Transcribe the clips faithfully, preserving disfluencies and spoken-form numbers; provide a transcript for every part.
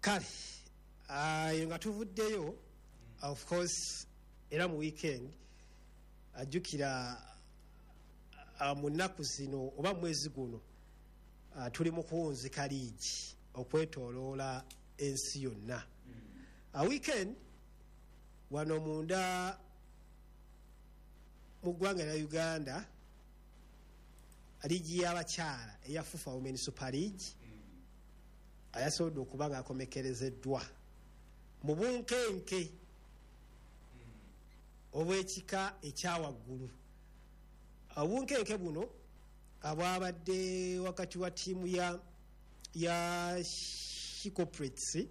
Kale ayo nga tuvuddeyo, of course era mu weekend, ajjukira uh, mu nnaku zino oba mu mwezi guno uh, tuli mu kuwunzika liigi okwetooloola ensi yonna. uh, weekend wano munda mu ggwanga lya Uganda, liigi y'abakyala eya FUFA Women Super League ayasobodde okuba nga akomekerezeddwa mu bunkenke obw'ekika ekyawaggulu. Obunkenke buno abwabadde wakati wa ttiimu ya ya She Corporates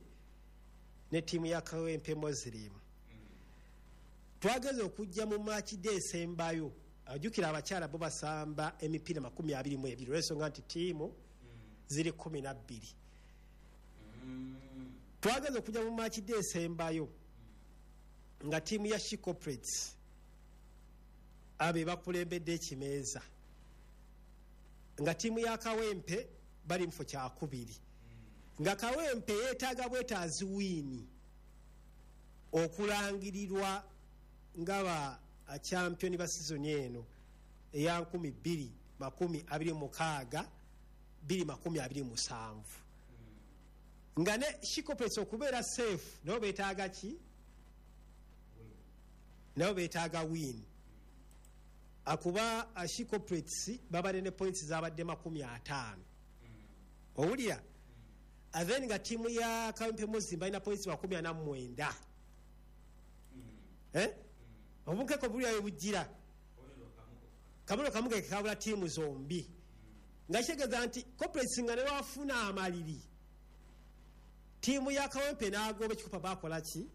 ne ttiimu ya Kawempe Muslim. Twageze okujja mu match day esembayo. Ajjukira abakyala bo basamba emipiira makumi abiri mu ebiri, olw'ensonga nti ttiimu ziri kumi na bbiri. Twageze okujja mu match day esembayo nga ttiimu ya She Corporates abe bakulembedde ekimeeza, nga ttiimu ya Kawempe bali mufo kyakubiri, nga Kawempe yeetaaga bwetaazi win okulangirirwa nga ba champion ba sizoni eno eya nkumi bbiri makumi abiri mukaaga bbiri makumi abiri musanvu, nga ne She Corporates okubeera safe nabo beetaaga ki? Nabo beetaaga win, akuba She Corporates babadde ne points zabadde makumi ataano, owulira? Then nga ttiimu ya Kawempe Muslim balina points makumi ana mu mwenda. Eh? Obunkeko bulyayo bujjira kabulo kamu ke kabula ttiimu zombi, nga kitegeeza nti Corporates nga newafuna amaliri, ttiimu ya Kawempe n'agoba ekikopa, bakola ki?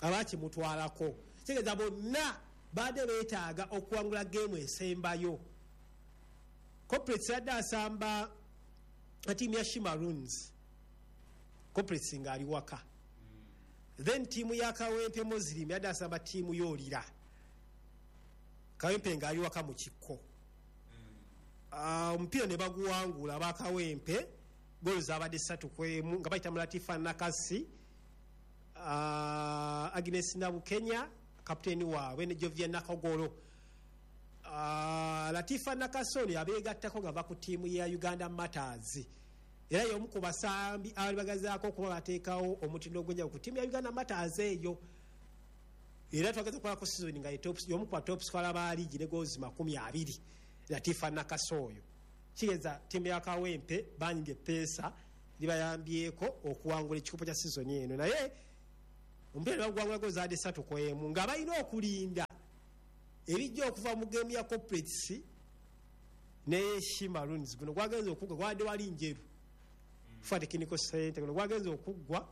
Abakimutwalako. Kitegeeza bonna badde beetaaga okuwangula geemu esembayo. Corporates yadde asamba ttiimu ya She Maroons, Corporates ng'ali waka. Then ttiimu ya Kawempe Muslim yadde asamba ttiimu y'olira Kawempe ng'ali waka mu kikko. Ah, omupiira ne baguwangula abakawempe, golo zabadde ssatu kwemu nga bayita mu Latifa Nakasi, uh, Agnes Nabukenya kapiteeni waabwe ne Jovia Nakogolo. uh, latifa Nakasi ono yabeegattako nga va ku ttiimu ya Uganda Martyrs, era y'omu ku basambi abali bagazaako okuba bateekawo omutindo ogw'enjawulo ku ttiimu ya Uganda Martyrs eyo. Era twageza okukolako season nga ye top- y'omu ku ba top scorer ba liigi ne goals makumi abiri, Latifa Nakasi oyo. Kigeza ttiimu ya Kawempe banyiga epeesa libayambyeko okuwangula ekikopo kya sizoni eno, naye omupiira nebaguwangula goals zaadde ssatu ku emu, nga balina okulinda ebijja okuva mu geemu ya Corporates ne She Maroons. Guno gwagenza okuggwa gwadde wali njeru FUFA Technical Center. Guno gwagenza okuggwa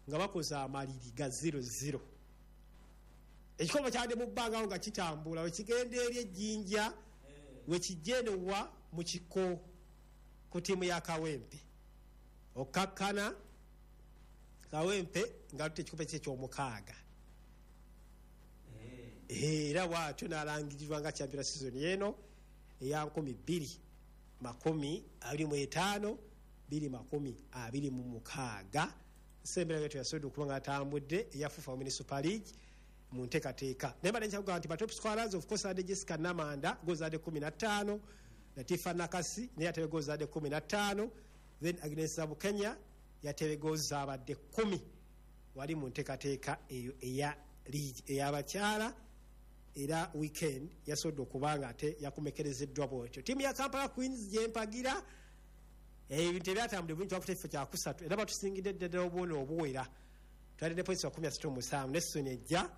nga bakoze amaliri ga zero zero. Ekikopo kyadde mu bbanga awo nga kitambula wekigenda eri ejjinja, wekijja enowa mu kiko ku ttiimu ya Kawempe, okkakkana Kawempe nga luta ekikopo kye ekyomukaaga. Era bwatyo n'alangirirwa nga champion season eno eya nkumi bbiri makumi abiri mu etaano bbiri makumi abiri mu mukaaga. Sembera getu yasobodde okuba nga atambudde eya FUFA Women Super League mu nteekateeka, naye mbadde nkyakugamba nti ba top scorers of course adde Jessica Namanda, goals zadde kumi na ttaano, Latifa Nakasi naye yatebe goals zadde kumi na ttaano, then Agnes Zabukenya yatebe goals zabadde kkumi wali mu nteekateeka eyo eya league ey'abakyala. Era weekend yasobodde okuba nga ate yakomekerezeddwa bwotyo. Ttiimu ya Kampala Queens gyempagira, ebintu ebyatambudde bulungi, twakuta ekifo kyakusatu era batusingidde ddala obwona obuwera, twalidde ne points makumi asatu mu musanvu. Ne season ejja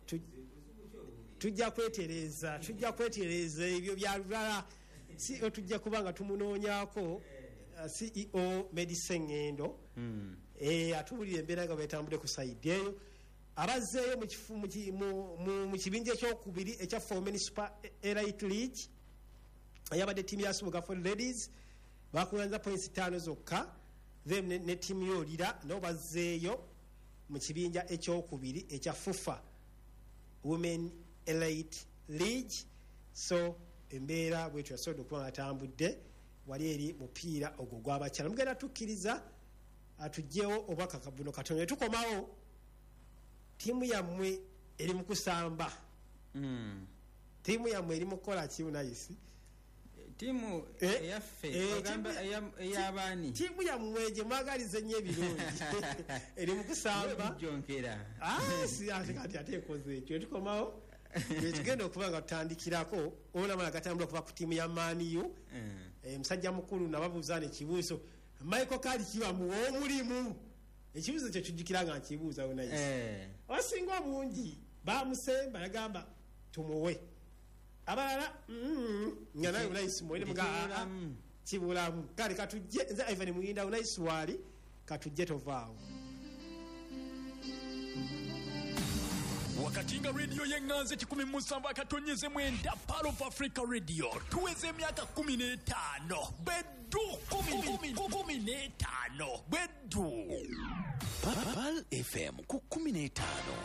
tu- tujja kwetereza, tujja kwetereza. Ebyo bya lulala. C E O tujja kuba nga tumunoonyako, uh, C E O Medise Ngendo Eh, atuwulira embeera nga bwetambudde ku side eyo. Abazzeeyo mu kifu- mu ki- mu- mu- mu kibinja ekyokubiri ekya Women Super Elite League eyabadde ttiimu ya Subuga for Ladies, bakuŋŋanyiza points ttaano zokka. Then ne, ne ttiimu y'olira nabo bazzeeyo mu kibinja ekyokubiri ekya FUFA Women Elite League. So embeera bwetyo yasobodde okuba nga atambudde wali eri mupiira ogwo gw'abakyala. Mugenda tukkiriza Atugyewo obwakaka buno katono tukomawo ttiimu yammwe eri mu kusamba. Mm. Ttiimu yammwe eri mu kukola ki Unayisi? Ttiimu Eh, eyaffe eh, ogamba ttiimu- eya- ey'abaani Ttiimu yammwe gye mwagaliza ennyo ebirungi eri mu kusamba. Bijonkera. Ah, si ate kati ate ekoze ekyo tukomawo tugenda okuba nga tutandikirako olaba gatambula okuva ku ttiimu ya Man U. Mm. Eh, musajja mukulu nababuuza nekibuuzo Michael Carrick bamuwa omulimu, ekibuuzo ekyo kijjukira nga nkibuuza Unayisi. Eh. Abasinga obungi bamusemba yagamba tumuwe, abalala mm, nga naye Unayisi muwere muga Kibulamu. kibulamu. Kale katujje nze Ivan Muyinda Unayisi waali katujje tovaawo. Wakati nga rediyo y'eŋŋanzi kikumi mu musanvu akatonyeze mwenda Pearl of Africa Radio tuweze emyaka kumi n'etaano beddu kumi kumi kumi n'etaano beddu Pearl F M ku kumi n'etaano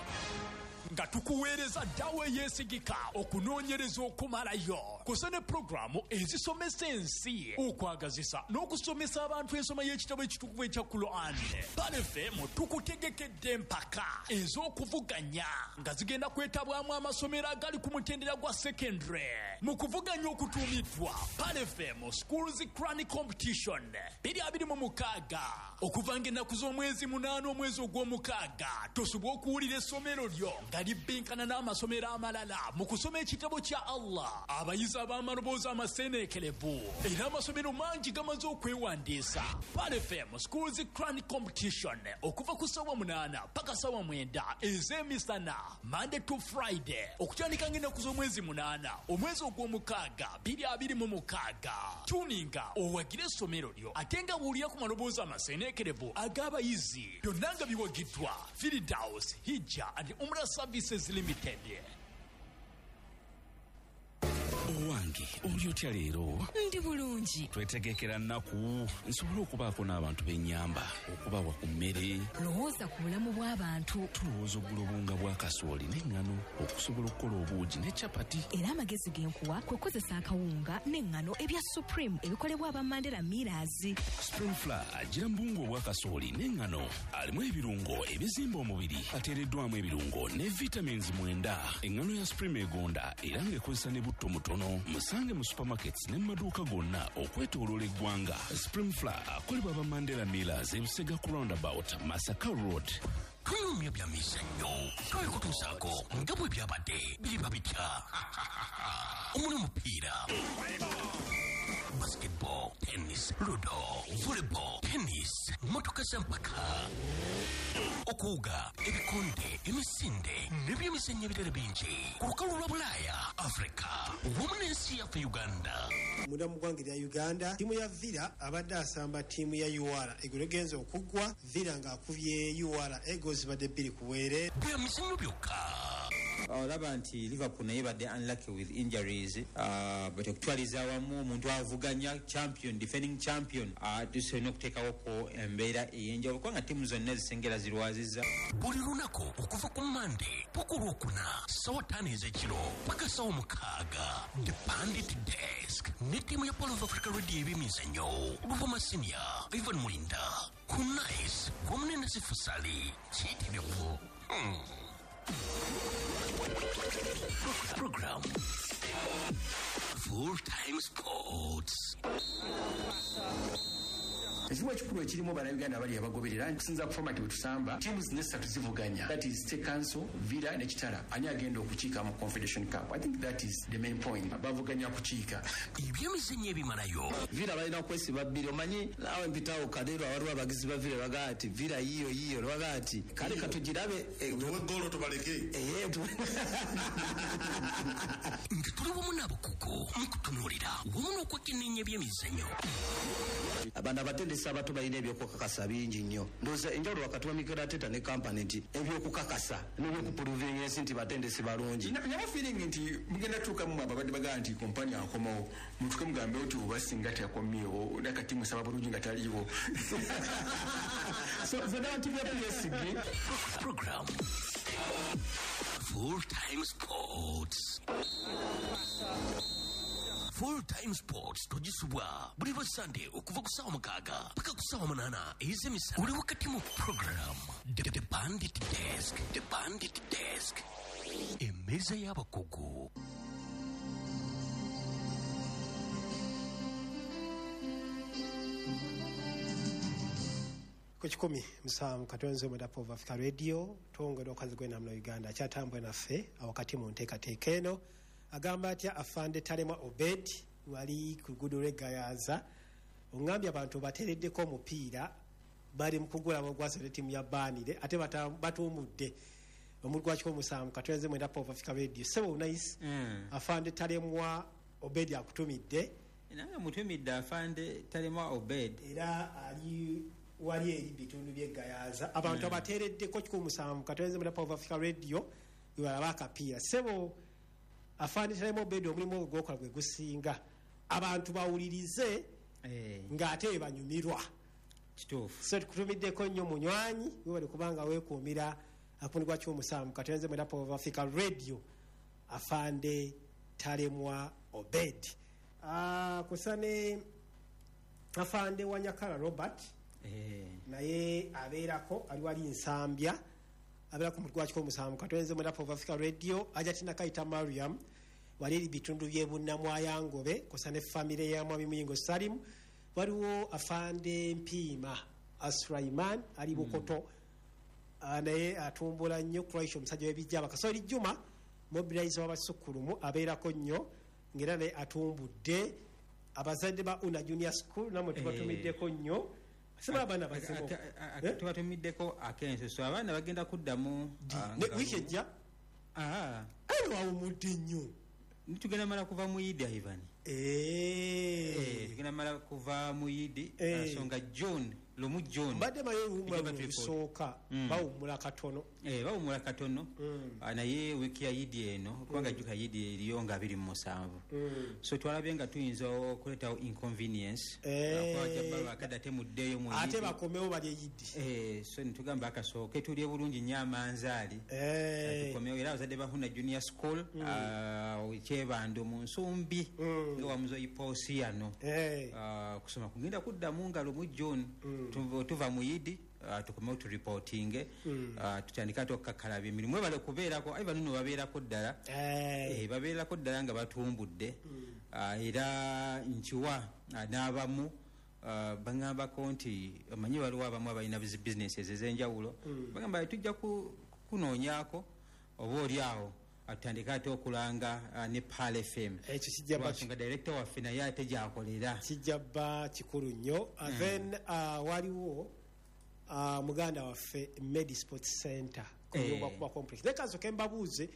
nga tukuweereza ddawo eyeesigika okunoonyereza okumalayo kusa ne pulogulaamu ezisomesa ensi okwagazisa n'okusomesa abantu ensoma y'ekitabo ekitukuvu ekya Quran. Pearl F M tukutegekedde empaka ez'okuvuganya nga zigenda kwetabwamu amasomero agali ku mutendera gwa secondary mu kuvuganya okutuumiddwa Pearl F M Schools Quran Competition biri abiri mu mukaaga okuva ng'ennaku z'omwezi munaana omwezi ogw'omukaaga. Tosobola okuwulira essomero lyo nga libbinkana n'amasomero amalala mu kusoma ekitabo kya Allah. Abayizi ab'amaloboozi amaseeneekerevu era amasomero mangi gamaze okwewandiisa. Pearl F M Schools Quran Competition okuva ku ssaawa munaana paka ssaawa mwenda ez'emisana Monday to Friday okutandika ng'ennaku z'omwezi munaana omwezi ogw'omukaaga biri abiri mu mukaaga. Tuninga owagire essomero lyo ate nga wulira ku maloboozi amaseeneekerevu ag'abayizi byonna nga biwagiddwa Firdaus Hijja and Umrah Services Limited. Owange oli otya leero? Ndi bulungi. Twetegekera nnaku nsobole okubaako n'abantu b'ennyamba okubawa ku mmere. Lowooza ku bulamu bw'abantu. Tulowooza okugula obuwunga bwa kasooli n'eŋŋano okusobola okukola obuugi ne capati. Era amagezi ge nkuwa kwe kukozesa akawunga n'eŋŋano ebya Supreme ebikolebwa aba Mandela Millers. Supreme Flour agira mu buwunga obwa kasooli n'eŋŋano alimu ebirungo ebizimba omubiri ateereddwamu ebirungo ne vitamins mwenda. Eŋŋano ya Supreme egonda era ng'ekozesa ne butto mutono. Musange mu supermarkets ne mu maduuka gonna okwetooloola eggwanga. Supreme Flour akolebwa aba Mandela Millers ebisega ku roundabout Masaka Road. Tunyumya bya mizannyo twabikutuusaako nga bwe byabadde biriba bitya omuli omupiira basketball, tennis, ludo, volleyball, tennis, motoka z'empaka, okuwuga, ebikonde, emisinde n'ebyemizannyo ebirala bingi ku lukalu lwa Bulaaya, Afrika wamu n'ensi yaffe Uganda. Munda mu ggwanga erya Uganda ttiimu ya Villa abadde asamba ttiimu ya U R egolo egenza okuggwa Villa ng'akubye U R ego zibadde bbiri ku bwereere. Bya mizannyo byokka. Olaba nti Liverpool naye badde unlucky with injuries, uh, but okutwaliza awamu omuntu avuganya champion, defending champion, uh, tusolina okuteekawoko embeera ey'enjawulo kubanga ttiimu zonna ezisengera zirwazizza. Buli lunaku okuva ku Monday paka Olwokuna ssaawa ttaano ez'ekiro paka ssaawa mukaaga The Pandit Desk ne ttiimu ya Pearl of Africa Radio ebyemizannyo Luvuma Senior, Ivan Mulinda, Kunais wamu ne Nasifu Sali kiyitirivu. Hmm. Program Full Time Sports. Ekimu ekikulu ekirimu bannayuganda abali abagoberera kusinza ku format bwe tusamba teams zino zivuganya, that is State Council, Villa ne Kitara, ani agenda okukiika mu Confederation Cup. I think that is the main point, bavuganya kukiika. Ebyemizannyo ebimalayo Villa balina kwesiba bbiri, omanyi naawe mpitawo Kadeero awaliwo abagizi ba Villa bagaa ati Villa yiyo yiyo bagaa ati kale katugirabe tuwe ggoolo tubaleke. Nga tuli wamu n'abakugu mu kutunuulira wamu n'okwekenneenya ebyemizannyo. Abana abatendesi abato balina ebyokukakasa bingi nnyo. Ndowooza enjawulo wakati wa Mikel Arteta ne Kompany nti ebyokukakasa n'ebyokupuruvinga ensi nti batendesi balungi. Nabo feeling nti mugenda tuukamu ababadde bagamba nti Kompany akomawo, mutuuke mugambe nti oba singa teyakomyewo nakati musaba bulungi nga taliiwo. So the narrative ya P S G program Full Time Sports. Full Time Sports togisubwa buli lwa Sunday okuva ku ssaawa mukaaga paka ku ssaawa munaana ez'emisana. Oli wakati mu program The, The Bandit Desk, The Bandit Desk, emmeeza y'abakugu. Ku kikumi musanvu katonze mu Dapov Africa Radio, twongera okazi gw'enamula Uganda akyatambula naffe awakati mu nteekateeka eno. Agamba atya afande Talemwa Obed wali ku luguudo lw'e Gayaza, oŋŋambye abantu bateereddeko omupiira, bali mu kugula ogwasooka ttiimu ya Baanire ate batuumudde omulundi gwa kikumi musanvu katonze mu Dapov Africa Radio. Ssebo nice. Mm. Afande Talemwa Obed akutumidde. Nange mutumidde afande Talemwa Obed era ali wali eri bitundu by'e Gayaza, abantu mm. abateereddeko kikumi musanvu katonze mu Dapov Africa Radio webalaba akapiira. Ssebo afande Talemwa Obed, omulimu ogwo gwokola gwe gusinga abantu bawulirize eh. ng'ate banyumirwa. Kituufu. So tukutumiddeko nnyo munywanyi, webale kubanga weekuumira akundi gwa kikumi musanvu katonze mu Dapov Africa Radio, afande Talemwa Obed. Ah, kusane afande Wanyakala Robert eh. naye abeerako ali wali Nsambya, abeera ku mutwe gwa kikumi musanvu katonze mu Dapov Africa Radio. Ajatina Kayita Mariam wali eri bitundu by'e Bunnamwayangobe kusa ne famire ya Mwami Muyingo Salim. Waliwo afande Mpiima Asulaiman ali Bukoto mm. naye atumbula nnyo Croatia, omusajja w'ebijja. Bakasoli Juma mobilizer w'abasukkulumu abeerako nnyo ng'era naye atumbudde. Abazadde ba Una Junior School namwe tubatumiddeko nnyo. Sema abaana bazimu tubatumiddeko akensuso, abaana bagenda kuddamu wiiki ejja. Aye wawumudde nnyo. Tugenda mala kuva mu Idi, Ivan. Eh. Tugenda mala kuva mu Idi, nsonga June, lumu June. Mbadde maye owummula lusooka, bawummula katono. Eh, bawummula katono. Naye wiiki ya Idi eno, kubanga jjuka Idi eriyo nga abiri mu musanvu. So twalabye nga tuyinza okuleetawo inconvenience. Kuba temuddeeyo mu Idi. Ate bakomewo balye Idi. Eh, so ne tugamba akasooke tulye bulungi nnyo amanzaali. Tukomewo era abazadde ba Huna Junior School, Kyebando mu Nsumbi, nga wamuzo Iposiano. Kusoma kugenda kuddamu nga lumu June. Tuva mu Idi, tukomewo tureportinge, tutandika ate okukakkalabya emirimu. Webale kubeerako, aye bano nno babeerako ddala. Babeerako ddala nga batumbudde. Era nkiwa n'abamu baŋŋambako nti omanyi waliwo abamu abalina businesses ez'enjawulo, bagamba tujja kunoonyaako oba oli awo atandika ate okulanga ne Pearl F M. Ekyo kijja ba nga director waffe naye ate gy'akolera. Kijja ba kikulu nnyo. Then waliwo muganda waffe Medi Sports Center kuyumba kuba complex. Leka nsoke mbabuuze,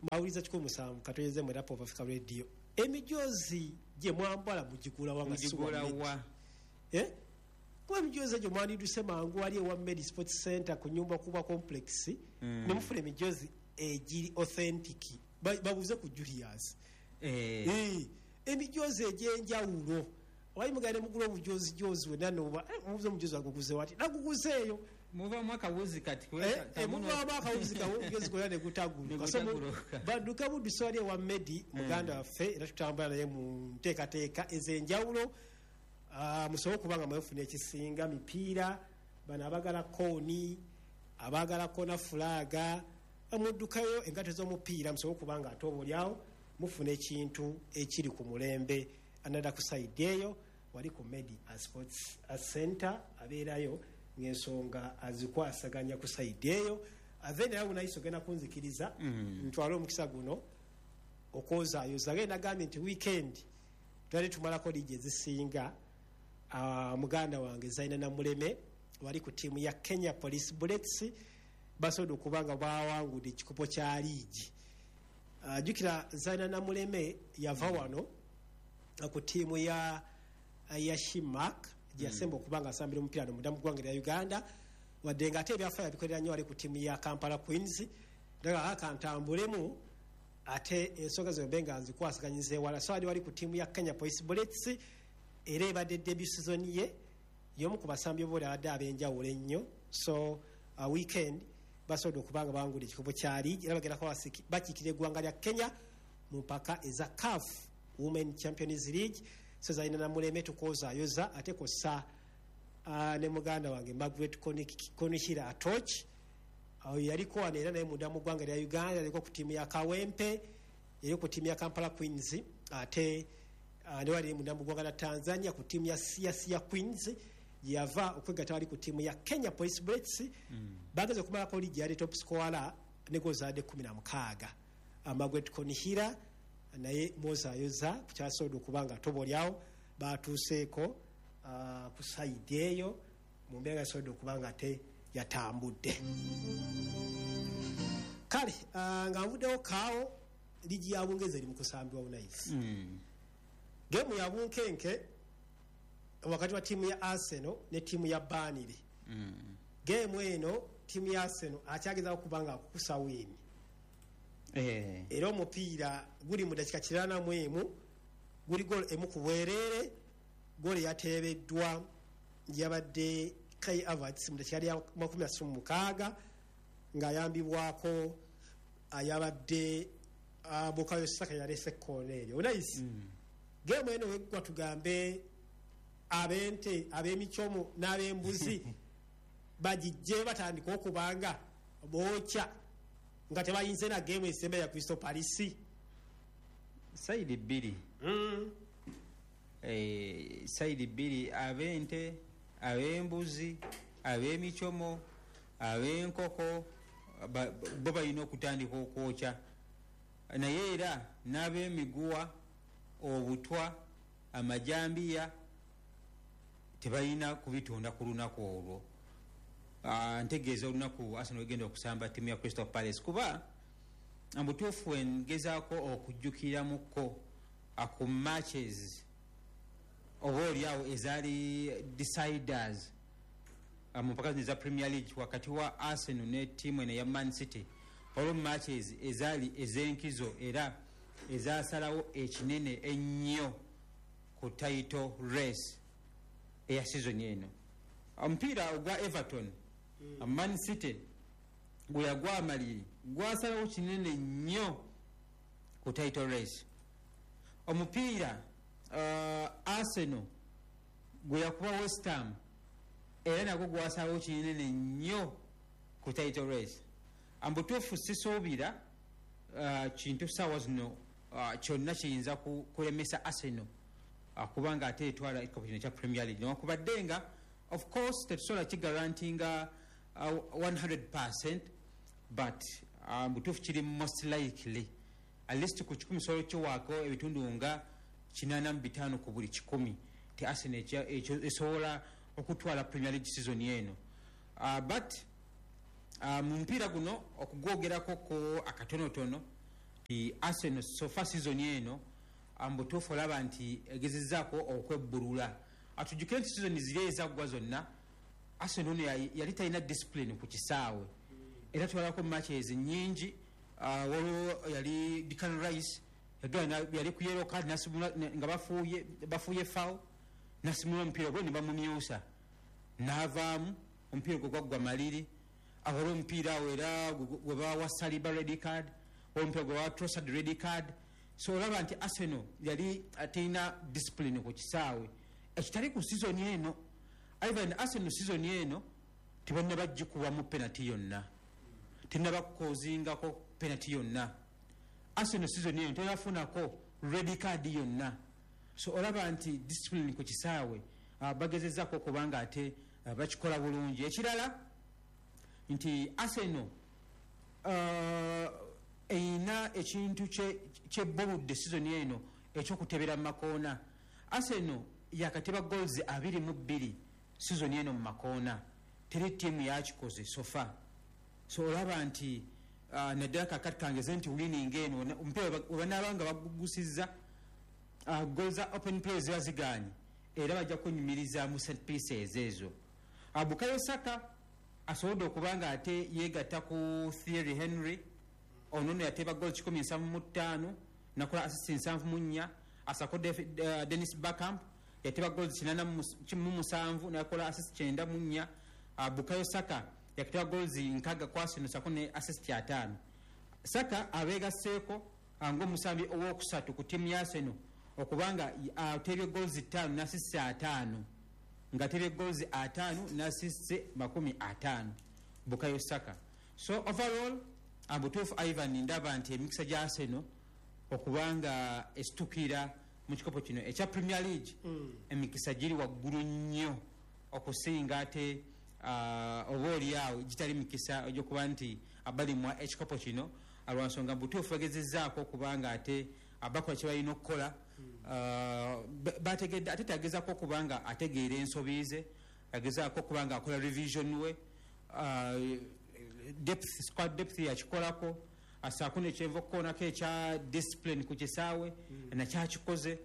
mbawuliza kikumi musanvu katonyeze mu Dapov Africa Radio. Emijoozi gye mwambala mugigula wa nga si wa Medi? Eh? Kuba emijoozi egyo mwandiduse mangu wali ewa Medi Sports Center ku nyumba kuba complex, ne mufuna emijoozi egiri authentic. Babuuze ku Julius. Eh. Emijoozi egy'enjawulo. Wali mugende mugula obujoozi joozi wenna n'oba mubuuze omujoozi aguguze wati naguguzeeyo. Muvaamu akawuzi kati. Muvaamu akawuzi kawuzi gonna ne gutaguluka. So badduka buddusi wali ewa Medi muganda waffe era tutambula naye mu nteekateeka ez'enjawulo. Musobole okuba nga mwefuna ekisinga mipiira, bano abaagala kooni, abaagala kona fulaaga, muddukayo engatto z'omupiira musobole okuba nga ate oba oliawo mufuna ekintu ekiri ku mulembe. Another ku side eyo wali ku Medi Sports Center abeerayo ng'ensonga azikwasaganya ku side eyo. Then awo nayiso ogenda kunzikiriza ntwale omukisa guno okwozaayoza. Agenda nagambye nti weekend twali tumalako liigi ezisinga. Muganda wange Zaina Namuleme wali ku ttiimu ya Kenya Police Bullets basobodde okuba nga bawangudde ekikopo kya liigi. Jjukira Zaina Namuleme yava wano ku ttiimu ya ya Shimak gye yasemba okuba nga asambira omupiira no munda mu ggwanga lya Uganda, wadde nga ate ebyafaayo abikolera nnyo wali ku ttiimu ya Kampala Queens. Ddala akantambulemu ate ensonga zombi nga nzikwasaganyiza ewala. So ali wali ku ttiimu ya Kenya Police Bullets era ebadde debut season ye, y'omu ku basambi booli abadde ab'enjawulo ennyo. So uh, weekend basobodde okuba nga bawangudde ekikopo kya liigi era bagenda kuba bakiikirira eggwanga lya Kenya mu mpaka eza CAF Women Champions League. So zalina Namuleme tukozaayoza ate kossa uh, ne muganda wange Margaret Konihira Atoch. Awo yaliko wano era naye munda mu ggwanga lya Uganda, yaliko ku ttiimu ya Kawempe, yaliko ku ttiimu ya Kampala Queens, ate uh, ne wali munda mu ggwanga lya Tanzania ku ttiimu ya Siasia Queens, gyeyava okwegatta wali ku ttiimu ya Kenya Police Bullets. mm. Bageze okumalako liigi yali top scorer ne gozaadde kumi na mukaaga. Margaret Konihira naye mwozayoza ku kyasobodde okuba nga tobolyawo batuuseeko uh, ku sayidi eyo mu mbeera yasobodde okuba nga te yatambudde. Kale uh, nga nvuddewo kaawo, liigi ya Bungereza eri mu kusambibwa bunaisi. mm. Geemu ya bunkenke wakati wa ttiimu ya Arsenal ne ttiimu ya Burnley. mm. Geemu eno ttiimu ya Arsenal akyagezaako okuba nga akukusa wiini. Eh. Era omupiira guli mu dakika kirana mu emu, guli goal emu ku bwereere. Goal yateebeddwa yabadde Kai Havertz mu dakika lya makumi asatu mu mukaaga ng'ayambibwako ayabadde uh, Bukayo Saka yalese koona eryo onayisi. mm. Geemu eno weggwa tugambe ab'ente, ab'emikyomo n'ab'embuzi bagijje batandika okubanga bookya nga tebayinze na geemu esemba ya Crystal Palace. Sayidi bbiri. mm. Eh, sayidi bbiri, ab'ente, ab'embuzi, ab'emikyomo, ab'enkoko ba- bo balina okutandika okwokya, naye era n'ab'emiguwa, obutwa, amajambiya tebalina kubitonda ku lunaku olwo. Ah, ntegeeza olunaku Arsenal egenda okusamba ttiimu ya Crystal Palace, kuba mubutuufu engezaako okujjukiramuko ku matches oba oliawo ezaali deciders ah, mu mpaka zino eza Premier League wakati wa Arsenal ne ttiimu eno eya Man City, waliwo matches ezaali ez'enkizo era ezasalawo ekinene ennyo ku title race eya season eno. Omupiira ogwa Everton, mm. Man City gwe yagwa amaliri, gwasalawo kinene nnyo ku title race. Omupiira uh, Arsenal gwe yakuba West Ham era nagwo gwasalawo kinene nnyo ku title race. Mbutuufu sisuubira uh, kintu saawa zino uh, kyonna kiyinza ku- kulemesa Arsenal uh, kubanga ate etwala ekikopo kino ekya Premier League, newankubadde nga of course tetusobola kigarantinga uh, kikumi, but uh, mbutuufu kiri most likely at least ku kikumi sobola kiwaako ebitundu nga kinaana mu bitaano ku buli kikumi ti Arsenal ekya- ekyo esobola okutwala Premier League season eno. uh, but uh, mu mupiira guno okugwogerako ko akatonotono ti Arsenal so far season eno mbutuufu olaba nti egezezzaako okwebbulula. Atujjukire nti season ziri ezaggwa zonna Arsenal ono yali yali talina discipline ku kisaawe, era twalako matches nyingi. uh, waliwo yali Declan Rice yagenda yali ku yellow card nasimula ne- nga bafuuye bafuuye foul, nasimula omupiira gwe ne bamumyusa n'avaamu, omupiira gwe gwaggwa maliri. Waliwo omupiira awo era gwe gwe bawa Saliba red card, waliwo omupiira gwe bawa Trossard red card. So olaba nti Arsenal yali terina discipline ku kisaawe ekitali ku season eno. Ivan, Arsenal season eno tebannaba gikubamu penalty yonna, tenaba kukozingako penalty yonna. Arsenal season eno tenafunako red card yonna. So olaba nti discipline ku kisaawe uh, bagezezako okubanga ate uh, bakikola bulungi. Ekirala nti Arsenal uh, erina ekintu kyebbuludde season eno ekyokutebera mu makoona. Arsenal yakateba goals abiri mu bbiri season eno mu makoona, teri ttiimu yakikoze so far. So olaba nti uh, naddala kakati kangeze nti winning eno omupiira webanaaba nga bagugusizza, uh, goal za open play ziba ziganye, era bajja kunyumiriza mu set pieces ezo. uh, bukayo Saka asobodde okuba nga ate yegatta ku Thierry Henry. Ono nno yateeba goal kikumi nsanvu mu ttaano nakola assist nsanvu mu nnya. Asako uh, Dennis Bergkamp yateeba goals kinana mu musanvu nakola assist kyenda mu nnya. uh, bukayo Saka yakateba goals nkaga ku Arsenal sako ne assist ataano. Saka abeegasseeko uh, ng'omusambi owokusatu ku ttiimu ya Arsenal. Okubanga atebye goals ttaano n'assists ataano, nga atebye goals ataano n'assists makumi ataano, Bukayo Saka. So overall, abutuufu Ivan, ndaba nti emikisa gya Arsenal okubanga esitukira mu kikopo kino ekya Premier League, emikisa giri waggulu nnyo okusinga ate uh, oba oliawo gitali mikisa egyokuba nti abalimwa ekikopo kino, lwansonga butuufu bagezezzaako okubanga ate abakola kye balina okukola. Uh, bategedde ate tagezaako okubanga ategeera ensobi ze, agezaako okubanga akola revision we, uh, depth, squad depth yakikolako, asaako nekyenva okukoonako ekya discipline ku kisaawe nakyakikoze.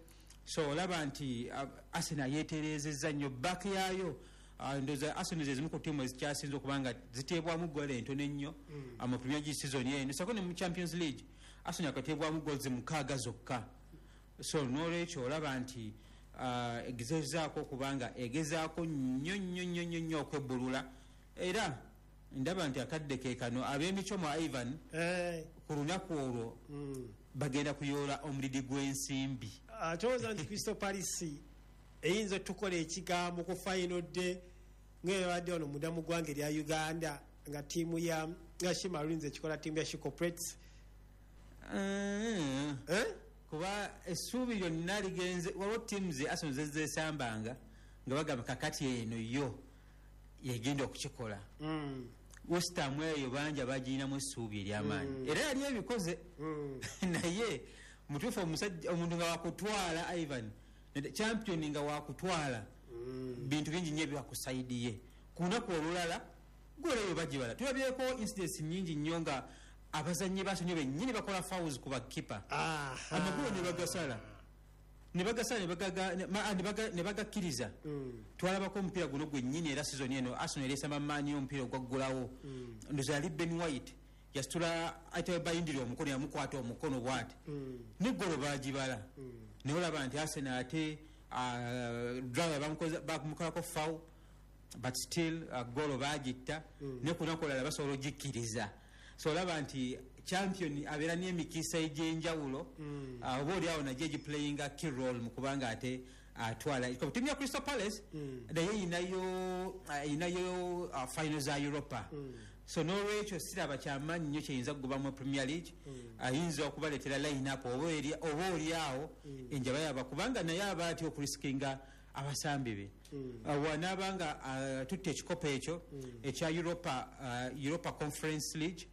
So olaba nti uh, Arsenal yeeterezezza nnyo back yaayo. uh, ndowooza Arsenal ze zimu ku ttiimu ezikyasinze okuba nga ziteebwamu goal entono ennyo mm. mu Premier League season eno, sako ne mu Champions League Arsenal akateebwamu goals mukaaga zokka. So n'olwekyo olaba nti uh, egezezaako okuba nga egezaako nnyo nnyo nnyo nnyo nnyo okwebbulula, era ndaba nti akadde ke kano ab'emicomo, Ivan, Eh, ku lunaku olwo mm. bagenda kuyoola omulidi gw'ensimbi. Towooza nti Crystal Palace eyinza otukola ekigambo ku final day ngaebadde wano munda mu ggwanga erya Uganda, nga ttiimu ya nga She Maroons ekikola ttiimu ya She Corporates? Mm. Eh? Kuba essuubi lyonna ligenze, waliwo ttiimu ze Arsenal zezesambanga nga bagamba kakati eno yo yegenda okukikola. Mm. West Ham eyo bangi abagirinamu essuubi eryamaanyi, era yali ebikoze. Mm. Naye mutuufu omusajja omuntu nga wakutwala, Ivan, champion nga wakutwala, bintu bingi nnyo ebyakusaidiye. Ku lunaku olulala goleyo bagibala. Tulabyeko incidents nyingi nnyo nga abazannyi basonyo bennyini bakola fouls ku bakipa, Aha. amagulu ne bagasala ne bagasala ne bagaga- ne- ma- ne baga- ne bagakkiriza. Twalabako omupiira guno gwennyini, era season eno Arsenal eresamba maanyi, omupiira ogwaggulawo ndoza yali Ben White yasitula ate Bayindiri omukono, yamukwata omukono bwati neggolo bagibala. Naye olaba nti Arsenal ate driver bamukolako foul, but still uh, golo bagitta. Ne ku lunaku olulala basobola ogikkiriza. So olaba nti champion abeera n'emikisa egy'enjawulo, uh, oba oli awo nagyo egiplayinga key role mu kubanga ate atwala uh, ttiimu ya Crystal Palace. Naye erinayo uh, erinayo uh, final za Europa. So n'olwekyo siraba kyamaanyi nnyo kyeyinza kugobamu Premier League. Ayinza okubaleetera line up oba eri- oba oli awo enjaba yaba, kubanga naye aba atya okurisikinga abasambi be. Uh, wanaaba nga uh, tutta ekikopo ekyo ekya Europa, uh, Europa Conference League,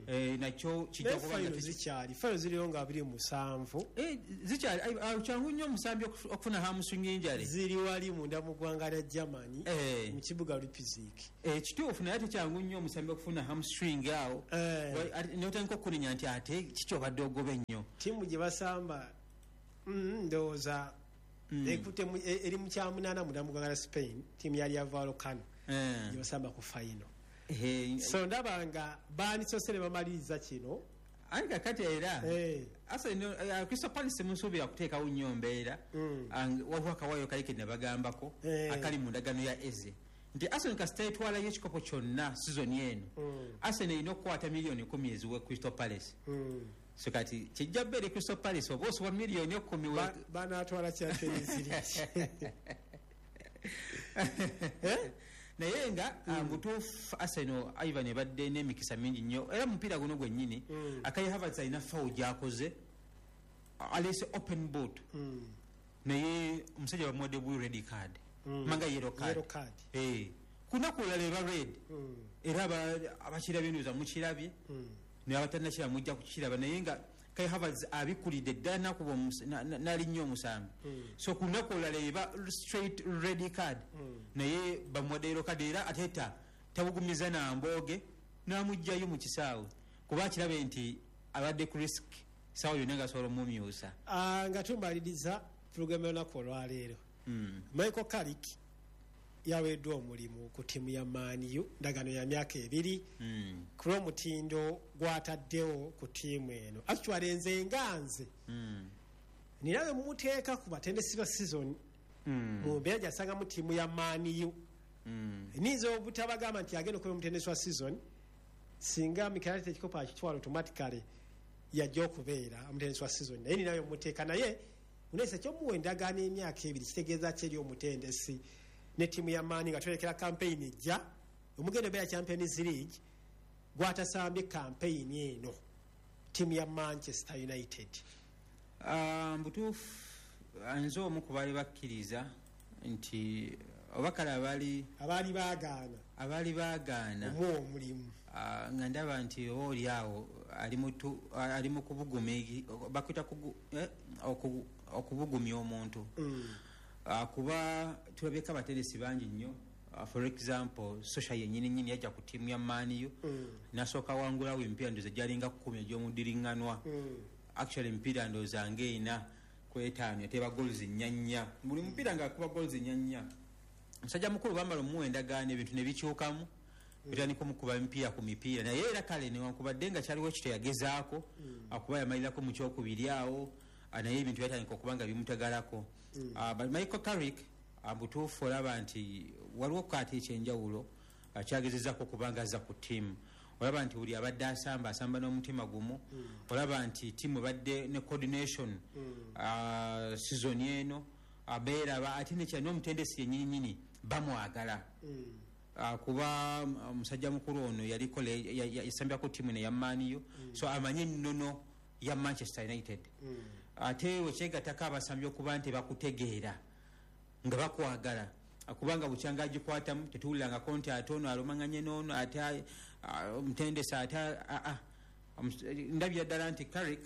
eh, nakyo kijja Naye kuba nga final zikyali, final ziriyo nga abiri mu musanvu. Eh, zikyali. Ai, ah, kyangu nnyo omusambi okufu- okufuna hamstring injury. Ziri wali munda mu ggwanga lya Germany, Eh. mu kibuga Leipzig. Eh, kituufu, naye ate kyangu nnyo omusambi okufuna hamstring awo. Eh. Wa- ate- notandika okunenya nti ate kiki obadde ogoba ennyo. Ttiimu gye basamba, mm, ndowooza ekutte mu- e- eri mu kyamunaana munda mu ggwanga lya Spain, ttiimu ya Rayo Vallecano Eh. gye basamba ku final. Eh, so ndaba nga banisose ne bamaliriza kino. Aye kakati era Eh. Arsenal, eh, Crystal Palace musuubira kuteekawo nnyo mbeera. Ang- waliwo akawayo kali ke nabagambako Eh. akali mu ndagano ya Eze nti Arsenal kasita etwalayo ekikopo kyonna season eno, Arsenal erina okukwata miliyoni kumi eziwe Crystal Palace. So kati kijja bbeere Crystal Palace oba osubwa miliyoni ekumi we- Ba- banaatwala Champions League. Naye nga mm. butuufu Arsenal, Ivan, ebadde n'emikisa mingi nnyo, era mupiira guno gwennyini mm. Kai Havertz alina foul gyakoze, alese open boot, naye omusajja bamuwadde bu red card, manga yellow card. Yellow card. Eh, kunaku olulala eba red, era aba- abakirabye ndowooza mukirabye, naye abatannakiraba mujja kukiraba. Naye nga Kai Havertz abikulidde ddala nakuba omus- na- na- n'alinnya omusambi. So ku lunaku olulala eba straight red card, naye bamuwadde yellow card, era ateta tabugumiza nambooge n'amugjayo mu kisaawe kuba akirabe nti abadde ku risk saawa yonna nga asobola omumyusa. Ah, nga tumaliriza pulogulaamu y'olunaku olwaleero, Michael Carrick yaweeddwa omulimu ku ttiimu ya Man U, ndagaano ya myaka ebiri, ku lw'omutindo gw'ataddewo ku ttiimu eno. Actually, nze nga nze nina bwe mumuteeka ku batendesi ba season mu mbeera gyasangamu ttiimu ya Man U. Niyinza obutabagamba nti agenda okuba omutendesi wa season. Singa Mikel Arteta ekikopo akitwala, automatically yajja okubeera omutendesi wa season, naye ninayo muteeka naye. Unesa kyomuwa endagaano emyaka ebiri kitegeeza ki eri omutendesi ne ttiimu ya Man U nga twolekera campaign ejja omugendo obeera Champions League gwatasambye campaign eno ttiimu ya Manchester United? Ah, mbutuufu nze omu ku baali bakkiriza nti oba kale abaali abaali baagaana abaali baagaana omuwa omulimu. Ah, nga ndaba nti oba oli awo ali mutu- ali mu kubuguma egi- bakwita kugu- eh, oku- okubugumya omuntu. Ah, kuba tulabyeko abateresi bangi nnyo. Ah, for example, Solskjaer yennyini nnyini yajja ku ttiimu ya Man U nasooka wangulawo emipiira ndowooza gyalinga kkumi egy'omudiriŋŋanwa. Actually, emipiira ndowooza ng'ena ku etaano yateeba goals nnya nnya, buli mupiira ng'akuba goals nnya nnya. Musajja mukulu bamala omuwa endagaano, ebintu ne bikyukamu, bitandika omukuba emipiira ku mipiira. Naye era kale newankubadde nga kyaliwo ekyo teyagezaako akuba yamalirako mu kyokubiri awo, ah, naye ebintu byatandika okuba nga bimutagalako. Ah, but Michael Carrick, ah, butuufu olaba nti waliwo kaati ekyenjawulo ah, kyagezezaako okuba nga azza ku ttiimu. Olaba nti buli abadde asamba asamba n'omutima gumu. Olaba nti ttiimu ebadde ne coordination ah, season eno abeeraba ate nekya n'omutendesi yennyininyini bamwagala. Ah, kuba mm, omusajja mukulu ono yaliko le- ya- ya- yasambyako ttiimu ne ya Man U, so amanye ennono ya Manchester United. Ate wekyegattako abasambi okuba nti bakutegeera nga bakwagala, kubanga bukyanga agikwatamu tetuwulirangako nti ate ono alumanganye n'ono ate ah, omutendesi ate ah, ah. Omus- ndabira ddala nti Carrick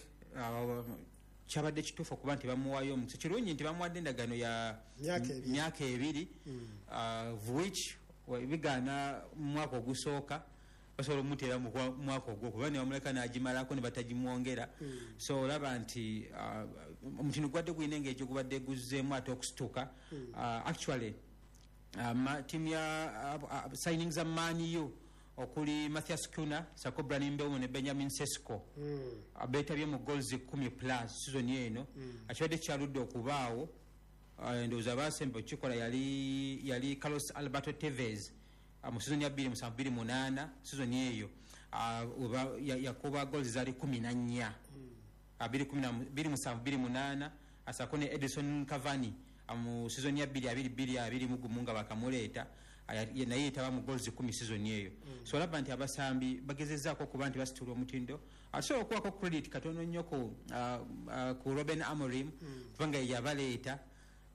kyabadde kituufu okuba nti bamuwayo omukisa. Kirungi nti bamuwadde endagaano ya Myaka ebiri. Myaka ebiri, ah, of which wa- bigaana mu mwaka ogusooka basobola omuteera mu kwa- mwaka ogwo kuba ne bamuleka n'agimalako ne batagimwongera. So olaba nti ah, omutindo gwadde gulina engeri gye gubadde guzzeemu ate okusituka. Ah, actually uh, ma, tiimu ya uh, uh, signings za Man U okuli Matheus Cunha sako Bryan Mbeumo ne Benjamin Sesko mm. beetabye mu goals kumi plus season eno mm. Akibadde kyaludde okubaawo. uh, ndowooza basemba okukikola yali, yali Carlos Alberto Tevez uh, mu season ya two seven two eight. Season eyo uh, weba- ya- yakuba goals zaali kumi na nnya, two seven eight, asako ne Edison Cavani ah, mu season ya two two two two mu nga bakamuleeta, ah, ya- naye yetaba mu goals kumi season eyo. So olaba nti abasambi bagezezaako okuba nti basitula omutindo. Asobola okuwako credit katono nnyo ku, ah, ah, ku Ruben Amorim kubanga ye yabaleeta,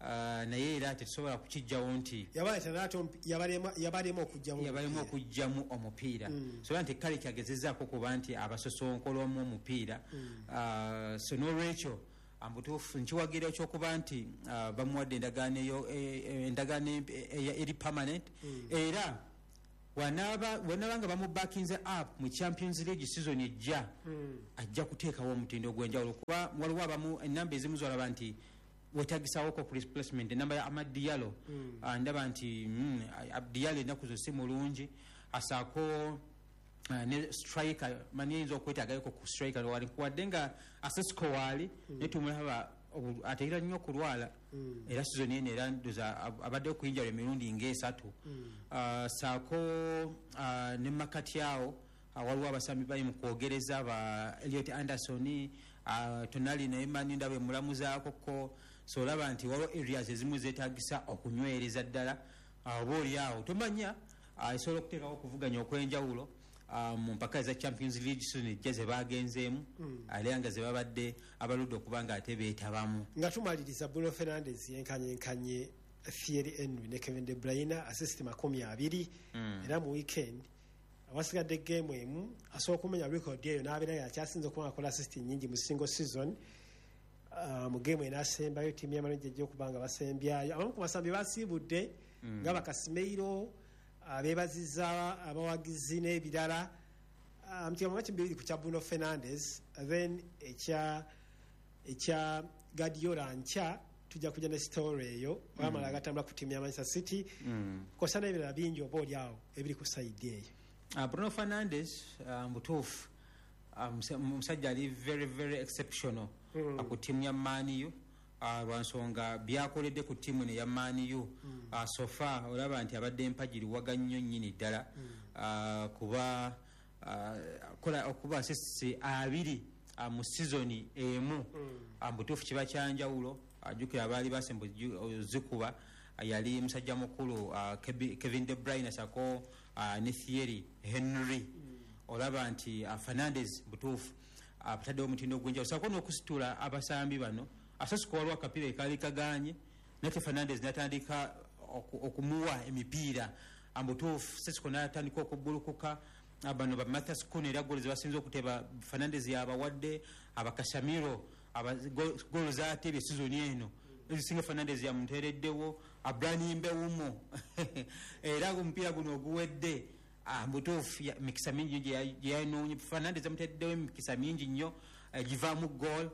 ah, naye era tetusobola kukijjawo nti yabaleeta naye ate omupi- yabalema yabalema okugyamu yabalemu okugjamu omupiira. So era nti kale kyagezezaako okuba nti abasosonkolamu omupiira. Ah, so n'olwekyo mbutuufu nkiwagira ekyokuba nti ah, bamuwadde endagaano eyo eh, eh, endagaano e- eri permanent. Era wanaaba wanaba nga bamubakinze up mu Champions League season ejja, ajja kuteekawo omutindo ogw'enjawulo kuba waliwo abamu enamba ezimu zolaba nti wetagisawoko ku replacement. Enamba ya Amad Diallo, ah, ndaba nti mm, Diallo ennaku zo si mulungi, asaako ah, ne striker mani eyinza okwetaagayoko ku striker wali wadde nga Sesko waali, naye tumulaba obu- ateera nnyo okulwala. Era season eno era ndoza ab- abaddeyo ku injury emirundi ng'esatu. Ah, saako ah, ne makati awo ah, waliwo abasambi bali mu kwogereza ba Elliot Anderson, ah, Tonali naye mani ndaba emulamuzaako ko. So olaba nti waliwo areas ezimu zeetagisa okunywereza ddala. Ah, oba oli awo tomanya, ah, esobola okuteekawo okuvuganya okw'enjawulo ah, mu mpaka eza Champions League season ejja ze bagenzeemu ate nga ze babadde abaludde okuba nga ate beetabamu. Nga tumaliriza, Bruno Fernandes yenkanyenkanye Thierry Henry ne Kevin De Bruyne, assist makumi abiri. Era mu weekend awasigadde game emu asobola okumenya record eyo n'abeera nga akyasinze okuba nga akola assist nyingi mu single season. Uh, mu game enasembayo ttiimu ya Man U ejja okuba nga basembyayo abamu ku basambi basiibudde nga ba Casemiro abeebaziza abawagizi n'ebirala. Um, kigambo bibiri ku kya Bruno Fernandes, then ekya ekya Guardiola nkya tujja kujja ne story eyo wamala agatambula ku ttiimu ya Manchester City kosa n'ebirala bingi oba oli awo ebiri ku side eyo. Uh, Bruno Fernandes, uh, mutuufu, uh, musa- musajja ali very very exceptional mm. uh, ku ttiimu ya Man U, uh, lwansonga byakoledde ku ttiimu eno eya Man U mm. uh, so far olaba nti abadde empagiriwaga nnyo nnyini ddala mm. uh, kuba uh, kola okuba assists abiri uh, mu sizoni emu mm. uh, mutuufu kiba kyanjawulo. Ajjukira abaali basemba zikuba yali musajja mukulu uh, Kevin De Bruyne sako uh, ne Thierry Henry. Mm. Olaba nti uh, Fernandes butuufu ataddewo uh, omutindo ogw'enjawulo sako n'okusitula abasambi bano. Asasiko waliwo akapiira ekaali kagaanye nate Fernandes n'atandika okumuwa emipiira ambutuufu Sesiko n'atandika okubbulukuka. Bano ba Mathias Cunha era ggoolo ze basinze okuteba Fernandes yabawadde, abakasamiro ggoolo z'atebye sizoni eno ezisinga Fernandes yamuteereddewo, Abraham Mbeumo era omupiira guno oguwedde mbutuufu mikisa mingi gye yanoonye. Fernandes amuteereddewo emikisa mingi nnyo givaamu ggoolo,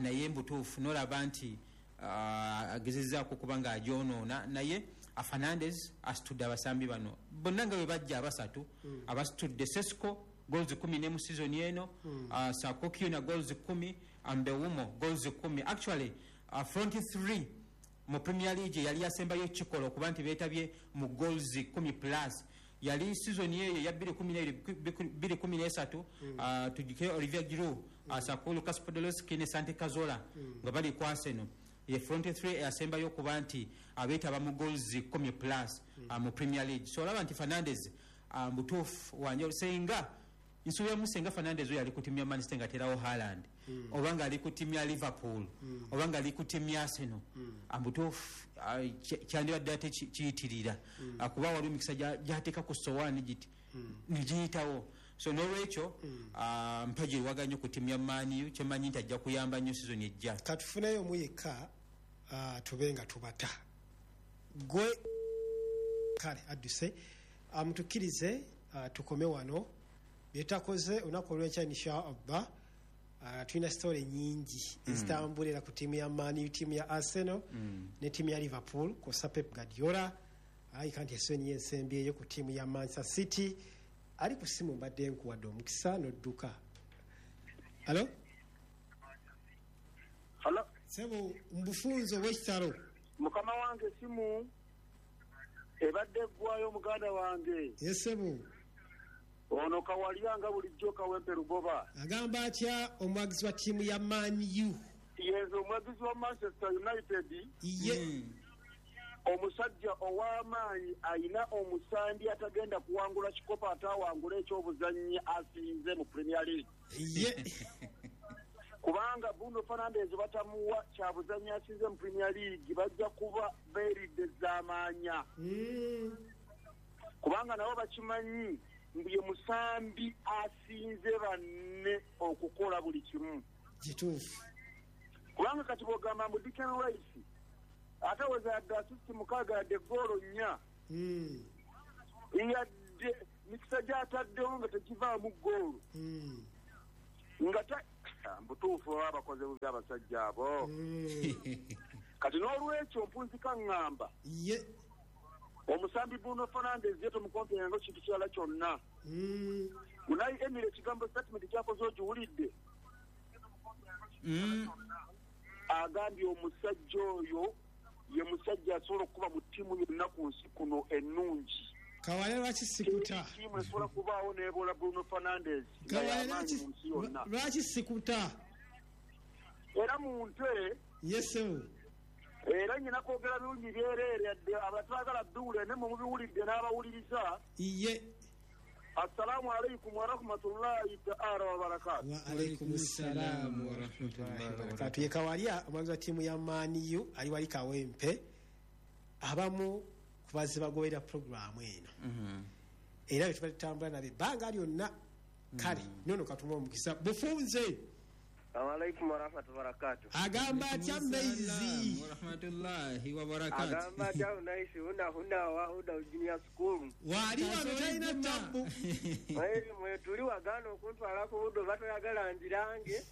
naye mbutuufu n'olaba nti agezezzaako okuba ng'agyonoona. Naye Fernandes asitudde abasambi bano bonna nga bwe bajja abasatu, mm. abasitudde Sesco goals kumi n'emu season eno, mm. uh, Sako Kiuna goals kumi, Mbeumo goals kumi. Actually uh, front three mu Premier League yali yasembayo kikola okuba nti beetabye mu goals kumi plus yali season eyo ya bbiri kumi n'ebiri kumi n'esatu, mm. uh, tujjukire Olivier Giroud, mm. uh, Sako Lucas Podolski ne Santi Cazorla nga mm. bali ku Arsenal. Ye front three yasembayo okuba nti abeetaba mu goals kumi plus mm. uh, mu Premier League. So olaba nti Fernandes uh, mutuufu wanjawulo. Senga nsuubiramu senga Fernandes oyo ali ku ttiimu ya Manchester nga aterawo Haaland, mm. oba nga ali ku ttiimu ya Liverpool, mm. oba nga ali ku ttiimu ya Arsenal, mm. mutuufu uh, kyandibadde ate kiyitirira, mm. uh, kuba waliwo emikisa gy'ateeka ku sowaani giti mm. ne giyitawo. So n'olwekyo mm. uh, mpagi nnyo ku ttiimu ya Man U, kyemmanyi nti ajja kuyamba nnyo season ejja. Katufuneyo omu yekka uh, tube nga tubata gwe kale adduse amutukkirize uh, tukome wano byetakoze olunaku olw'enkya insha Allah. uh, tulina story nyingi ezitambulira ku ttiimu ya Man U, ttiimu ya Arsenal mm. ne ttiimu ya Liverpool kw'ossa Pep Guardiola ayika nti esoni yensembyeyo ku ttiimu ya Manchester City. Ali ku simu mbadde nkuwadde omukisa n'odduka. Alo? Halo? Sebo mbufunzo w'ekitalo. Mukama wange simu ebadde eggwayo muganda wange. Ye sebo. Ono Kawalya nga bulijjo Kawempe Lugoba. Agamba atya omwagizi wa ttiimu ya Man U? Yenze omwagizi wa Manchester United. Ye. Mm. Omusajja ow'amaanyi ayina omusambi atagenda kuwangula kikopo atawangula ekyobuzannyi asinze mu Premier League. Ye. Kubanga Bruno Fernandes batamuwa kyabuzannyi asinze mu Premier League bajja kuba beeridde z'amaanya. Mm. Kubanga nabo bakimanyi mbu ye musambi asinze banne okukola buli kimu. Kituufu. Kubanga kati bw'ogamba mbu Declan Rice ate weza yadde assist mukaaga yadde ggoolo nnya, Mm. yadde mikisa gy'ataddewo nga tegivaamu ggoolo, Mm. nga ta mbutuufu baba bakoze bubi abasajja abo. Mm. Kati n'olwekyo mpunzika ŋŋamba Ye. omusambi Bruno Fernandes ye tomukomperenga kintu kirala kyonna. Mm. Unai Emery ekigambo statement kyakoze ogiwulidde? Mm. Agambye omusajja oyo ye musajja asobola okuba mu ttiimu yonna ku nsi kuno ennungi. Kawalya lwaki sikuta? Ttiimu esobola kubaawo n'ebola Bruno Fernandes nga Kawalya y'amaanyi lwaki mu nsi yonna. lwaki sikuta? Era mu nte Ye sebo. era nyina kwogera birungi byereere yadde abatwagala biwulire ne mwe mubiwulidde n'abawuliriza. Ye. Assalaamu alaikum warahmatullahi taala wabarakatu. Wa alaikum salaam wa rahmatullahi wa barakatuh. Ye Kawalya omwagizi wa ttiimu ya Man U ali wali Kawempe, abamu ku bazze bagoberera puroguraamu eno era bwe tuba tutambula nabo ebbanga lyonna. Kale nono katuma omukisa bufunze. Alaikum warahmatullahi wabarakatuh. Agamba atya Maizi? Warahmatullahi wabarakatuh. Agamba atya Unaisi huna huna wa huna junior school. Wali wano talina tabbu. Mwe mwe tuli wagana okuntwala ku buddo batoyagala njirange.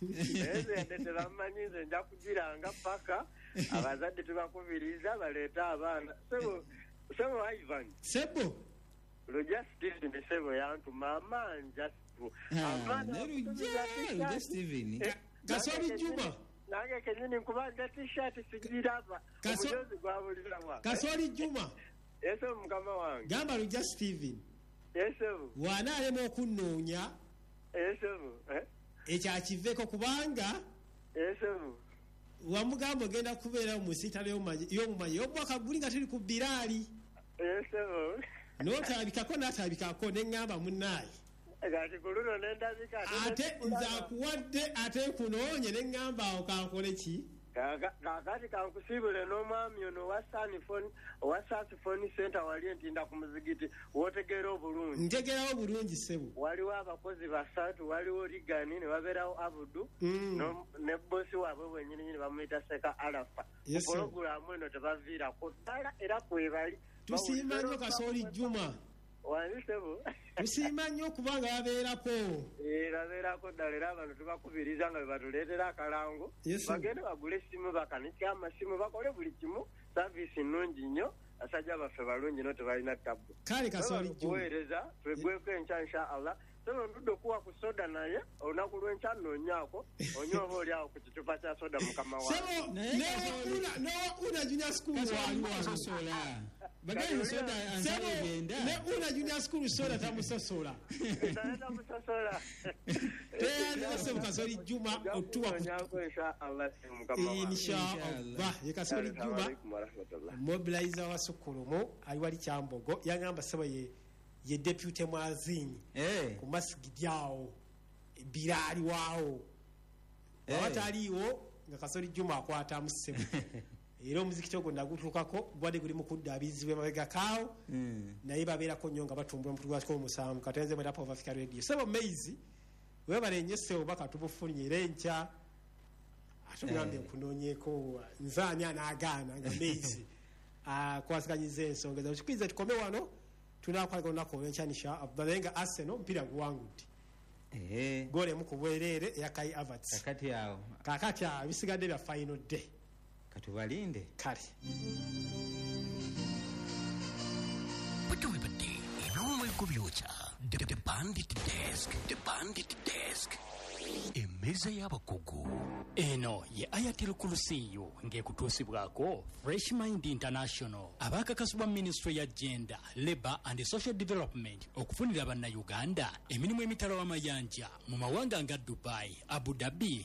Eze yadde tebamanyi nze nja kugiranga paka abazadde tubakubiriza baleete abaana. Sebo sebo Ivan. Sebo. Lujja Steven sebo yantuma amanja. Ah, ne Lujja, Lujja Steven. Kasoli Juma. Nange kenyini nkubanja t-shirt sigiraba. Kaso- Omujozi gwabulirawa. Kasoli Juma. Ese mukama wange. Gamba Lujja Steven. Ese Bw'anaalema okunnoonya ese eh ekyo akiveeko kubanga ese Wamugamba ogenda kubeera mu nsiitano y'omumanyi y'omwaka guli nga tuli ku Biraali. Esebo. N'otalabikako n'atalabikako ne ŋŋamba munnaaye. Kati ku luno ne ndabika ate nze akuwadde ate nkunoonye ne ŋŋamba awo kankole ki? Kaakati kankusiibule n'omwami ono owa Sanifoni owa Sasifoni Center wali entinda ku muzigiti w'otegeera obulungi. Ntegeerawo bulungi ssebo. Waliwo abakozi basatu, waliwo Rigani ne wabeerawo Abudu Mm. ne bbosi waabwe bwennyininyini bamuyita Seka Alafa. Yes, sir. Pulogulaamu eno tebaviirako ddala era kwebali. Tusiima nnyo Kasooli Juma. Wali ssebo. Tusiima nnyo okubanga babeerako. Eh, babeerako ddala era abantu tubakubiriza nga bwe batuleetera akalango. Yes, sir. Bagende bagule essimu, bakanike amasimu, bakole buli kimu. Saavisi nnungi nnyo, basajja baffe balungi nnyo tebalina ttabbu. Kale Kasooli Juma. Kuweereza twegweko enkya insha Allah. Sebo ndudde okuwa ku soda naye olunaku lw'enkya nnoonyaako onywe oba oli awo ku kicupa kya soda mukama wange. Sebo newa una una junior school wali wano. Baganda soda Sebo egenda. ne una junior school soda tamusosola. Naye tamusosola. Teyandiza sebo Kasooli Juma otuwa ku Nnoonyaako insha Allah mukama wange. Insha Allah. Ye Kasooli Juma Assalamu warahmatullah. mobilizer wa Sukulumu ali wali Kyambogo yangamba sebo ye ye deputy mwazinyi Eh. ku masigidi awo Biraali waawo Eh. awataliiwo nga Kasooli Juma akwatamu ssebo era omuzikiti ogwo nagutuukako gubadde guli mu kuddaabizibwa emabega kaawo Mm. naye babeerako nnyo nga batumbula omukutu gwakiko omusanvu katenze mwera of Africa Radio. Sebo Maize webale nnyo ssebo baka tubufunye era enkya ate ogambye nkunoonyeeko nze ani anaagaana nga Maize akwasiganyiza ensonga ezo. Kikirize tukome wano tunaakwalaga olunaku olw'enkya insha Allah naye nga Arsenal omupiira guwangudde Eh. goolo emu ku bwereere eya Kai Havertz. Kakati awo Kaakati awo bisigadde bya final day. Katubalinde. Kale. Bwe eby'omwego byokya. The, the Bandit Desk, The Bandit Desk, emmeeza y'abakugu. Eno ye Ayatul Kulusiyu ng'ekutuusibwako Fresh Mind International abaakakasibwa minisitule ya Gender, Labour and Social Development okufunira bannayuganda emirimu emitala w'amayanja mu mawanga nga Dubai, Abu Dhabi.